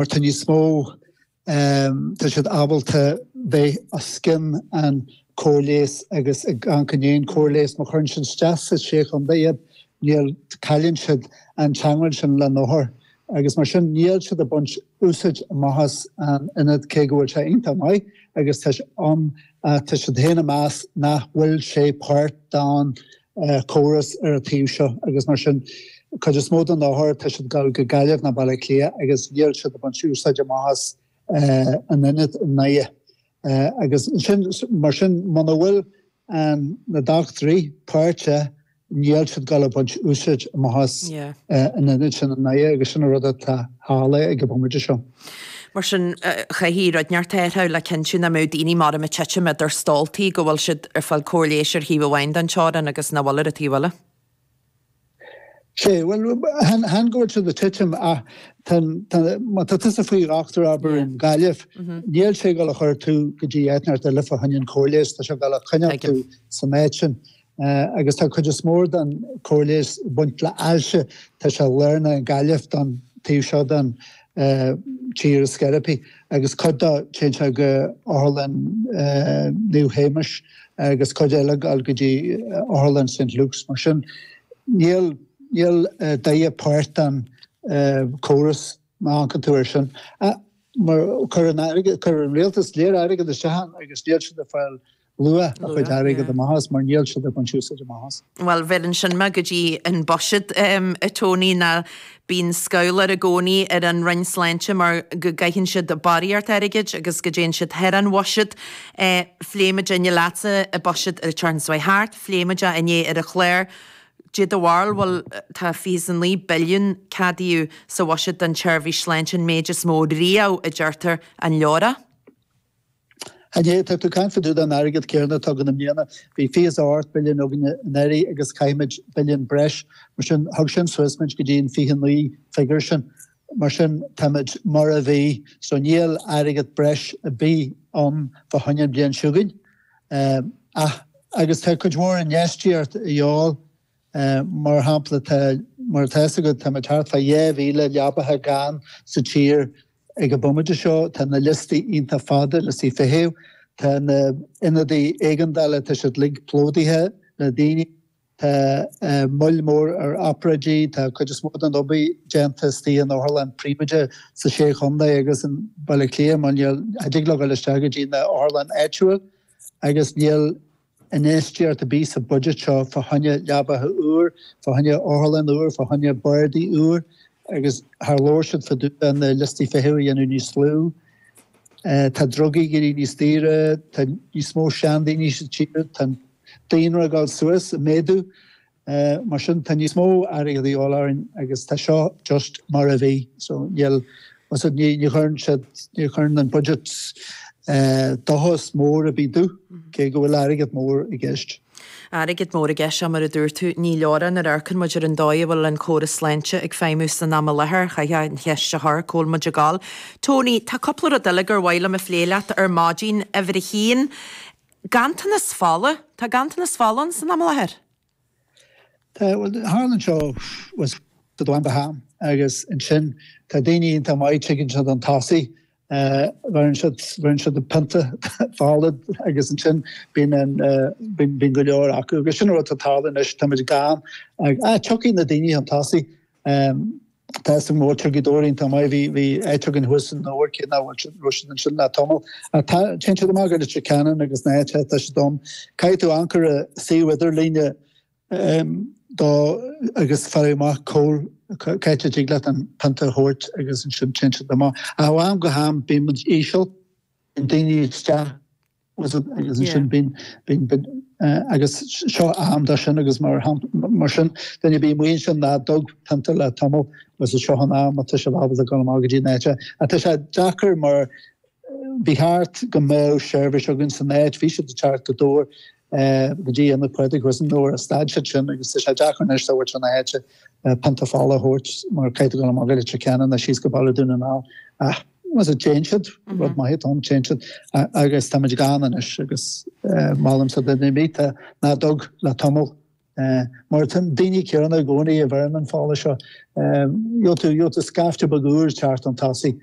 Mar tá níos mó, tá siad ábalta bheith os cionn an cóir leighis agus ag amharc i ndiaidh an cóir leighis. Má chuireann siad isteach sa sé chontae iad, níl, cailleann siad an teangmháil sin le na hothair agus mar sin níl siad ag baint úsáid amach as an ionad cé go bhfuil sé iontach maith agus tá sé ann ach tá siad féin ag meas nach bhfuil sé páirt den córas ar an taobh seo agus mar sin cuid is mó den othar tá siad ag dul go Gaillimh nó Baile Átha Cliath agus níl siad ag baint úsáid amach as an ionad i nDoire agus sin mar sin muna bhfuil an na dochtúirí páirteach níl siad ag dul ag baint úsáid amach as an ionad sin i nDoire agus sin an rud atá tharla ag an bomaite seo. Mar sin, chaithfí rud inteacht a athrú le cinntiú nach mbeadh daoine mar ag titim idir stóltaí, go bhfuil siad ag fáil cóir leighis ar thaobh amháin den teorainn agus nach bhfuil ar an taobh eile. Sea, bhuel, chan go bhfuil siad ag titim ach tá, má tá tusa faoi dhochtúir, abair, i nGaillimh, níl sé ag dul a chur tú go dtí áit inteacht eile fá choinne an cóir leighis, tá sé ag dul a choinneáil tú san áit sin. Agus tá cuid is mór den cóir leighis ag baint le ailse, tá sé lárnach i nGaillimh don taobh seo den tír is sceiripí agus cuid dó téann sé go Otharlann Naomh Shéamais agus cuid eile ag dul go dtí Otharlann St Luke's. Mar sin níl níl Doire páirt den córas má amharcann tú air sin. Mar chuir an airgead chuir an rialtas léir airgead isteach ann agus níl siad ag fáil luach a chuid airgead amach as mar níl siad ag baint úsáid amach as. Bhuel, bheireann sin mé go dtí an buiséad, a Tony, ná bíonn scabhal i gcónaí ar an Roinn Sláinte mar go gcaitheann siad barraíocht airgid agus go dtéann siad thar an bhuiséad. Phléigh muid inné leatsa an buiséad an tseachtain seo thart, phléigh muid é inné ar an chlár. Dé do bharúil, bhuel, tá 29 billiún ceadaithe sa bhuiséad don tseirbhís sláinte, an méid is mó riamh, a deirtear, an leor é? An é, tá tú ag caint fá dtaobh den airgead céanna atá againn i mbliana. Bhí 28 billiún againne anuraidh agus caithfimid billiún breis. Mar sin, thug sin suas muid go dtí an 29 figiúr sin. Mar sin, táimid mar a bhí. So níl airgead breis ar bith ann fá choinne an bhliain seo chugainn. Ach, agus tá cuid mhór infheistíocht a dhíobháil. Mar shampla, tá, mar atá fhios agat, táimid thart fá 2,000 leabacha gann sa tír Ag an bomaite seo tá na liostaí iontach fada, liostaí feithimh, tá na ionadaí éigeandála, tá siad uilig plódaithe le daoine, tá moill mór ar obráidí, tá cuid is mó den obair déanta istigh in otharlann príobháideach sa Sé Chontae agus in Baile Átha Cliath mar níl, cha dtig leo dul isteach go dtí na otharlann áitiúil agus níl infheistíocht ar bith sa budget seo fá choinne leabacha úr, fá choinne otharlann úr, fá choinne bardaí úr agus char labhair siad fá dtaobh de na liostaí feithimh a dhéanamh níos lú. Tá drugaí ag éirí níos daoire, tá níos mó seandaoine sa tír, tá an daonra ag dul suas, ag méadú. Mar sin, tá níos mó airgead a dhíobháil orainn agus tá seo just mar a bhí. So níl, ní chuireann siad, ní chuireann an budget dóchas mór ar bith domh, cé go bhfuil airgead mór i gceist. Airgead mór i gceist, sea, mar a dúirt tú, ní leor é nuair a amharcann muid ar an dóigh a bhfuil an córas sláinte ag feidhmiú san am i láthair. Chaithfeá an cheist a chur, cá bhfuil muid ag gabháil? Tony, tá cúpla rud eile gur mhaith liom a phlé leat ar maidin. Uimhir a haon, Ganntanas fola? Tá ganntanas fola ann san am i láthair? Tá, bhuel, tharla anseo was ó am go ham agus ansin tá daoine iontach maith, tigeann siad chun tosaigh, bheireann siad, bheireann siad pionta fola agus ansin bíonn an, bíonn, bíonn go leor acu agus sin an rud atá ag tarlú anois, táimid gann, ah, tiocfaidh na daoine chun tosaigh. Tá fhios agam go bhfuil Gaoth Dobhair iontach maith. Bhí bhí áit againn thuas i nDobhar cé nach bhfuil siad raibh siad ansin le tamall. Ach tá téann siad amach go Leitir Ceanainn agus na háite tá siad ann. Caithfidh tú amharc ar an suíomh idirlíne do agus fáil amach cá bhfuil cá háit a dtig leat an pionta a thabhairt agus ansin téann siad amach. Ach ó am go ham bíonn muid íseal, bíonn daoine isteach agus ansin bíonn, bíonn, bíonn, agus seo am dó sin agus mar mar sin duine ar bith amuigh ansin nach dtug pionta le tamall agus seo an am atá sibh ábalta dul amach go dtí an áit. Ach tá sé deacair mar ba cheart go mbeadh seirbhís againn san áit, bhí siad ag teacht go Dobhar go dtí Ionad Phádraig thuas i nDobhar ach stad siad sin agus tá sé deacair anois tabhairt chun na háite pionta fola a thabhairt mar caithfidh tú dul amach go Leitir Ceanainn nó síos go Baile Dún na nGall ach Más ea, téann siad, rud maith atá ann, téann siad agus táimid gann anois agus molaimse do duine ar bith nach dtug le tamall mar tá daoine céanna i gcónaí a bheireann an fola seo. Gheobhaidh tú, gheobhaidh tú scaifte beag úr teacht chun tosaigh.